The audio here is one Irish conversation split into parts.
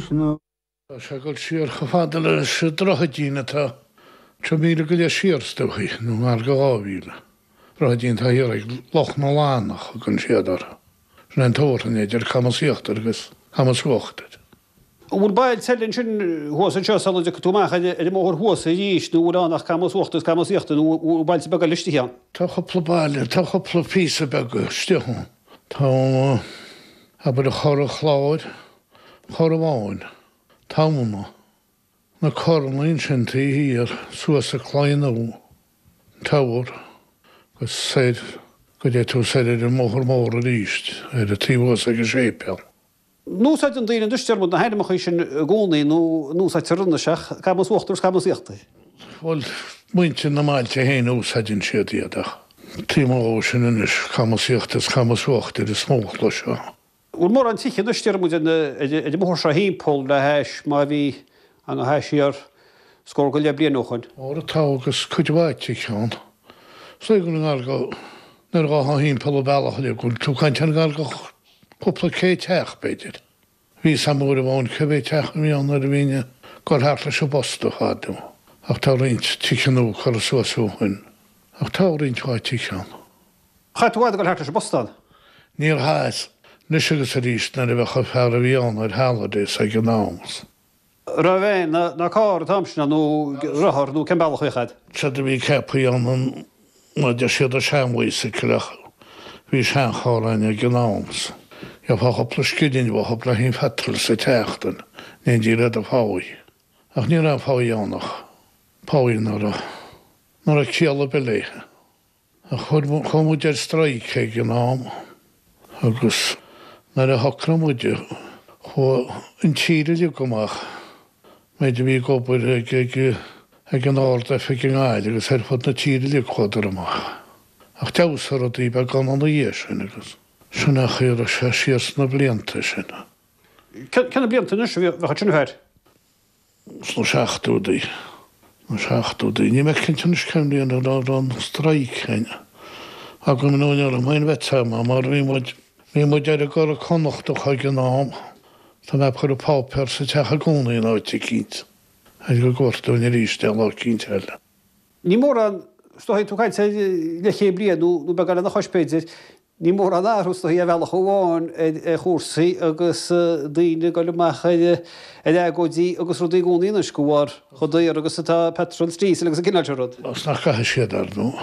anois nó. Tá sé ag dul siar chomh fada leis an droichidín atá 3 mhíle go leith siar is dóichí, nó gar do 2000. Droichidín atá thiar ag Loch na Lannach a thugann siad orthu. Sin é an tabharthach idir Camas Íochtair agus Camas Uachtair. An bhfuil bailte eile ansin thuas anseo sula dtiocfaidh tú amach ar an mbóthar thuas arís nó an bhfuil ann ach Camas Uachtair is Camas Íochtair nó an bhfuil bailte beaga eile istigh ann? Tá cúpla baile, tá cúpla píosa beag istigh ann. Tá, abair, Corr an Chláir, Corr Bháin, Tamhna, na Corranna ansin taobh thiar, suas an claí nua, an Teamhair, agus soir go dté tú soir ar an mbóthar mór arís, ar an taobh thuas ag an séipéal. An úsáideann daoine anois Diarmuid na hainmneacha sin i gcónaí nó an úsáidtear anois ach Camas Uachtair is Camas Íochtair? Bhuel, muintir na mbailte féin a úsáideann siad iad ach taobh amuigh dhó sin anois, Camas Íochtair is Camas Uachtair is mó a chloisfeá. Bhfuil mórán tithe anois Diarmuid ar an mbóthar seo thimpeall le hais mar a bhí ann le hais siar scór go leith bliain ó shoin? Óra tá agus cuid mhaith tithe ann. Is dóigh go bhfuil i ngar do, nuair a ghabhfá thimpeall an bealach uilig, go bhfuil tú ag caint ar ngar do chúpla céad teach b'fhéidir. Bhí 'fhios a'm uair amháin cé mhéad teach a bhí ann nuair a bhínn ag gabháil thart leis an bposta fadó ach tá roinnt tithe nua curtha suas ó shoin. Ach tá roinnt mhaith tithe ann. Chaith tú i bhfad ag dul thart leis an bpostán? Níor chaitheas. Anois agus arís nuair a bheadh an fear a bhí ann ar holidays ag an am. Raibh veain ná carr an t-am sin ann nó rothar nó cén bealach a bhíodh agat? Séard a bhí ceaptha ann ná deir siad an sean-bhicycle ach bhí seancharr againn ag an am. Gheofá cúpla scilling uathu le haghaidh an phetrol sa tseachtain in éindí le do pháigh. Ach ní raibh aon pháigh ann ach páigh ná raibh ná raibh ciall ar bith léithe. Chuaigh muid ar strike ag an am agus nuair a shocraigh muid, chuaigh an tír uilig amach, méid a bhí ag obair ag an Ard-Oifig i nGaillimh agus ar fud na tíre uilig chuadar amach. Ach d'fheabhsaigh rudaí beagán ina dhiaidh sin agus sin é an chaoi a raibh sé siar sna blianta sin. Cé na blianta anois a bheadh ansin a Pheaid? Sna seachtóidí. Na seachtóidí. Níl mé cinnte anois cén bhliain a raibh an strike againn. Agam nó ní raibh mé in bheith agam mar bhí muid, bhí muid ar an gCuradh Connachtach ag an am. Tá mé ag cur an páipéar sa teach i gcónaí in áit eicínt. Ar go gcuirfear dúinn arís é lá eicínt eile. Ní mórán, is dóigh, tú ag caint ar leathchéad bliain nó beagán lena chois b'fhéidir, ní mórán athrú is dóigh ar bhealach amháin ar chúrsaí agus daoine ag dul amach ar agóidí agus rudaí i gcónaí anois de bharr chomh daor agus atá petrol is diesel agus an cineál sin rud. Is nach gcaithfidh siad, ar ndóigh.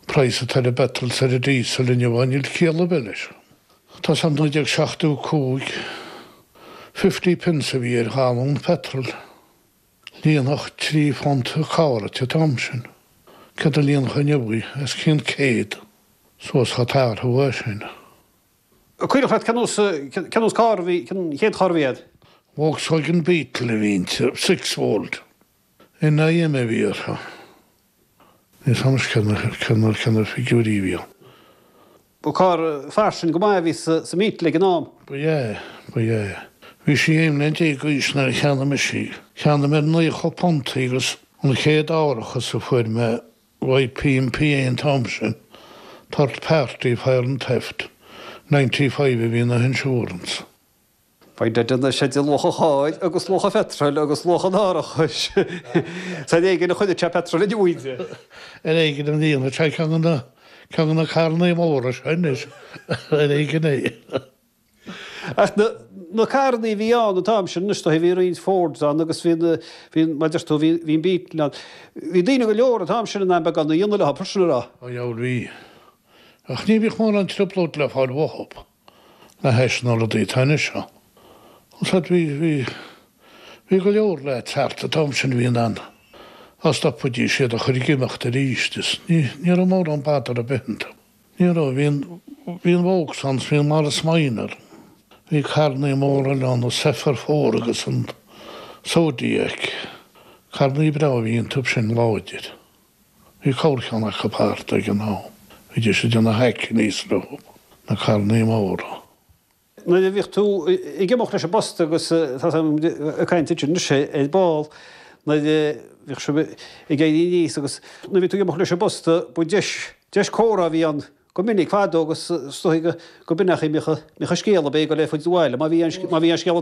Praghas atá ar an bpetrol is ar an diesel inniu, níl ciall ar bith leis. Tá san 1975, fifty pence a bhí ar ghalún petrol. Líonfadh £3 carr an t-am sin. Céard a líonfadh inniu í? Os cionn 100. Suas chomh t-athrú é sin. Cuimhneach leat cén nós, cén nós carr a bhí, cén chéad charr a bhí agat? Volkswagen Beetle a bhí inti, six-fold. NIM a bhí uirthi. Níl 's a'm cé na, cé na figiúirí a bhí ann. Ba carr fairsing go maith a bhí sa mBeetle ag an am. Ba ea, ba ea. Bhí sí 11 mbliain d'aois nuair a cheannaigh mise í. Cheannaigh mé ar £90 í agus an chéad árachas a fuair mé uaidh PMPA an t-am sin, Third Party Fire and Theft, 95 a bhí ina insurance. Faigh anois idir luach an chairr agus luach an phetroil agus luach an árachais. Is ar éigean a choinneodh sé petrol inniu inti. Ar éigean a líonfadh sé ceann de na, ceann de na carrannaí móra seo anois. Ar éigean é. Ach na, na carrannaí a bhí ann an t-am sin anois, bhí roinnt Fords ann agus bhí na, bhí, mar a deir tú, bhí, bhí an Beetle ann. Bhí daoine go leor an t-am sin in ann beagán a dhéanamh leo, sin a rá. Ó dheabhail bhí. Ach ní bhíodh mórán trioblóid le fáil uathu. Le hais na rudaí atá anois ann. Úsáid bhí, bhí, bhí go leor leaids thart an t-am sin a bhí in ann dá stopfaidís iad a chur ag imeacht arís is ní, ní raibh mórán bother ar bith iontu. Ní raibh, bhí an, bhí an Vaux ann is bhí an Morris Minor, bhí carrannaí móra eile ann, an Zephyr Four agus an Zodiac, carrannaí breá a bhí iontu sin láidir. Bhí corrcheann acu thart ag an am. Bhídís ag déanamh hackneys leo, na carrannaí móra. Nuair a bhíodh tú ag imeacht leis an bpost agus tá ag caint ansin anois ar ball nuair a bhíodh sibh ag éirí aníos agus nuair a bhí tú ag imeacht leis an bpost ba deis, deis comhrá a bhí ann go minic fadó agus is dóigh go b'in é an chaoi a mbíodh an scéal ab é go léifid abhaile má bhí an scéal.